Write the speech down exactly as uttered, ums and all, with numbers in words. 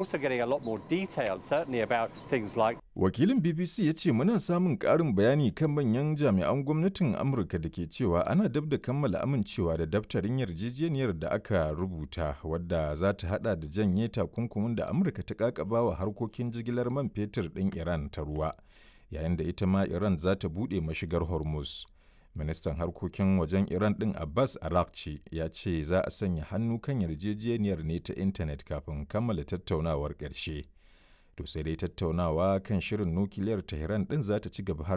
Also getting a lot more detail, certainly about things like Wakilin B B C ya ce muna samun ƙarin bayani kan manyan jami'an gwamnatin Amurka da ke cewa ana dab da kammala amincewa da daftarin yarjejeniyar da aka rubuta, wadda za ta hada da janye takunkumin da Amurka ta kakaba wa harkokin jigilar man fetur ɗin Iran ta ruwa, yayin da ita ma Iran za ta buɗe mashigar Hormuz. Ministan harkokin wajen Iran ɗin Abbas Araghchi ya ce za a sanya hannu kan yarjejeniyar ne ta intanet kafin kammala tattaunawar ƙarshe. To sai dai tattaunawa kan shirin nukiliyar Tehran ɗin za ta ci gaba har